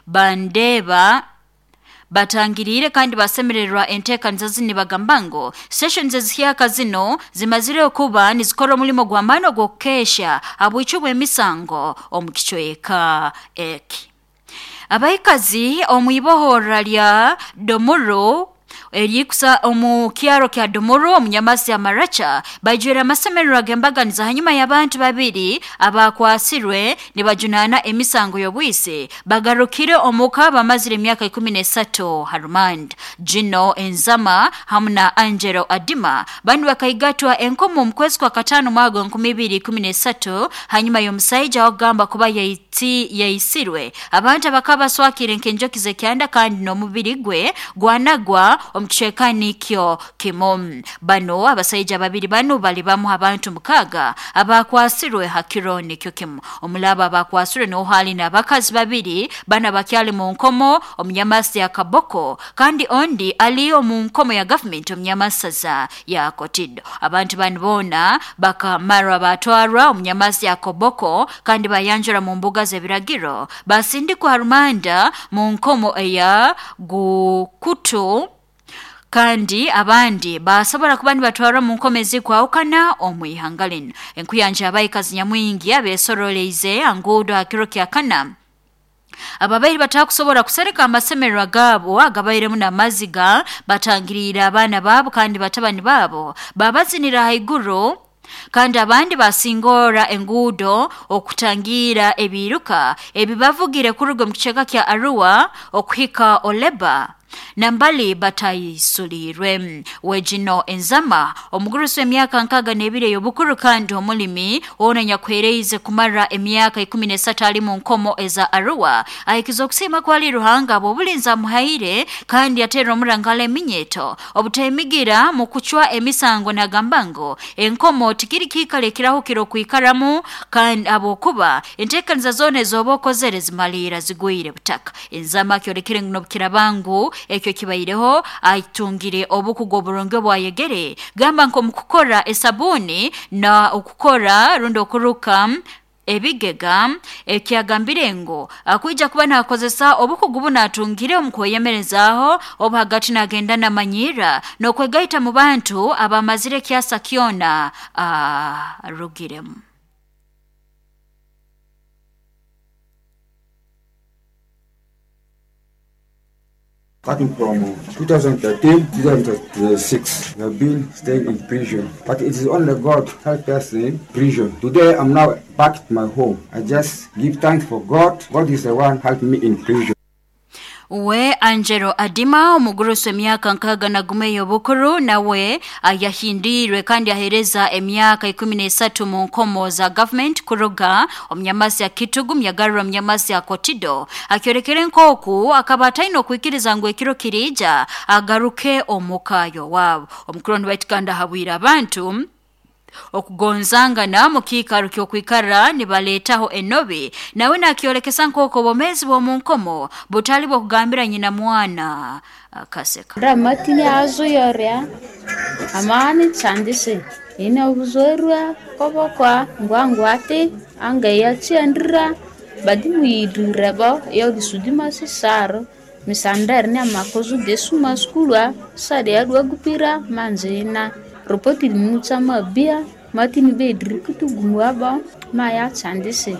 Bandeba batangiriire kandi basemererwa enteekaniza zinu nibagamba ngu stations ezihyaka zino zimazire okuba nizikora omulimo gw'amaani ogw'okukesha habwicwi bw'emisango omu kicweka eki. Abaikazi omu ibohorra lya Domuru erikusa omu kyaro kya Domuru omu Nyamasi ya Maracha baijwire amasemererwa g'embaganiza hanyuma y'abantu babiri abakwasirwe nibajunaana emisango y'obwisi bagarukire omuka bamazire emyaka 13 ha rumanda. Gino Enzama hamu na Angelo Adima banu bakaigatwa enkomo omu kwezi kwa kataano mwaka 2013 hanyuma y'omusaija wakugamba kuba yaisirwe abantu abakaba baswakire nk'enjoki z'ekyanda kandi n'omubiri gwe gwanagwa omu kicweka nikyo kimu. Bano abasaija babiri banu bali bamu abantu 6 abakwasirwe ha kiro nikyo kimu. Omulabo abakwasirwe niho hali n'abakazi babiri bana bakyali mu nkomo omunyamasi ya Kaboko kandi ondi ali omu nkomo ya gavumenti omunyamasaza ya Kotido. Abantu banu boona bakamarwa batwarwa omunyamasi ya Koboko kandi bayanjura mu mbuga z'ebiragiro basindikwa rumanda mu nkomo eya Gukutu kandi abandi basobora kuba nibatwarwa mu nkomo ezikwahukana omu ihanga linu. Enkuyanja abaikazi nyamwingi abesoroleize anguudo ha kiro kya kana ababaire batakusobora kusereka amasemererwa gaabo agabairemu n'amaziga batangiriire abaana baabo kandi batabani baabo babazinira haiguru kandi abandi basingora enguudo okutangira ebiiruka ebibavugire kuruga omu kicweka kya Arua okuhika Oleba nambali batayisulirwe. Wegino Enzama omugurusi w'emyaka 62 ey'obukuru kandi omulimi ona nyakuhereize kumara emyaka 13 ali mu nkomo eza Arua ahikiza okusiima kwali Ruhanga ab'obulinzi amuhaire kandi yateera omurangala eminyeto obutemigira mu kucwa emisango nagamba ngu enkomo tikiri kiikaro ekirahukire okwikaramu kandi habwokuba enteekaniza zoona ez'oba okozere zimaliira zigwire butaka. Enzama akyolekere ngu n'obukiraba ngu ekyo kibaireho atungire obukugu oburungi obwayegere gamba nk'omu kukora esabuni na okukora rundi okuruka ebigega ekyagambire ngu akwija kuba nakozesa obukugu buno atungire omu kweyemerezaaho obu hagati nagenda namanyira n'okwegaita mu bantu abamazire ekyasa kyona arugiremu. Starting from 2013 2006, we have been staying in prison. But it is only God helped us in prison. Today, I'm now back at my home. I just give thanks for God. God is the one helped me in prison. We Angelo Adima omugurusi w'emyaka 61 ey'obukuru nawe yahindiirwe kandi aheereza emyaka 13 mu nkomo za gavumenti kuruga omunyamasi ya Kitugu myagarra omunyamasi ya Kotido akyolekere nk'oku akaba ataine okwikiriza ngu ekiro kiriija agaruke omuka y'owaabo. Omukuru waitu kandi ahabwire abantu okugonzangana mu kiikaro ky'okwikara nibaleetaho enobi nawe nakyolekesa nk'oku obwomeezi bw'omu nkomo butali bw'okugambira nyina mwana akaseka. Ramatini azo yoria amani chandise ina buzorwa kobokwa ngwangwate anga ya chendra badimu yidureba ya disudima sisaro misandar ne makozu desuma skulwa sade ya gupira manzina ripoti mutsa mabia matini bedri kutu gumwaba maya chandise.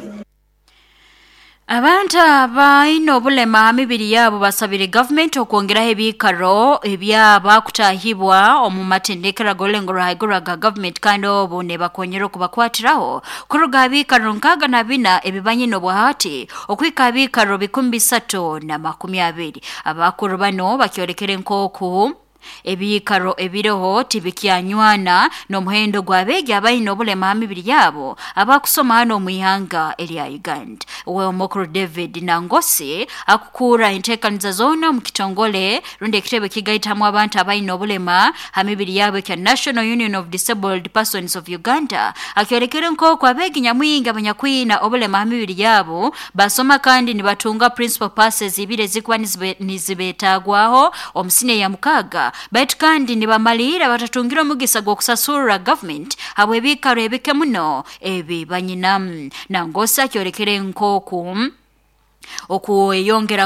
Abantu abaine obulema ha mibiri yabo basabire gavumenti okwongeraho ebiikaro ebyaba kutahibwa omu matendekero ag'orulengo rwa haiguru aga gavumenti kandi obu nibakonyera okubakwatiraho kuruga ha biikaro 64 ebibanyine obwahati okuhika ha biikaro 320. Abakuru bano bakyolekere nk'oku ebiikaro ebiroho tibikyanywana n'omuhendo gw'abeegi abaine obulema ha mibiri yabo abakusoma hano omu ihanga erya Uganda. We omukuru David Nangosi akukuura enteekaniza zoona omu kitongole rundi ekitebe kigaitamu abantu abaine obulema ha mibiri yabo ekya National Union of Disabled Persons of Uganda akyolekere nk'oku abeegi nyamwingi abanyakwina obulema ha mibiri yabo basoma kandi nibatunga principal passes ibiri ezikuba nizibetagwaho omu siniya ya 6 baitu kandi nibamalira batatungire omugisa gw'okusasurra gavumenti habw'ebiikaro ebike muno ebi banyinamu. Nangosi akyolekere nk'oku okweyongera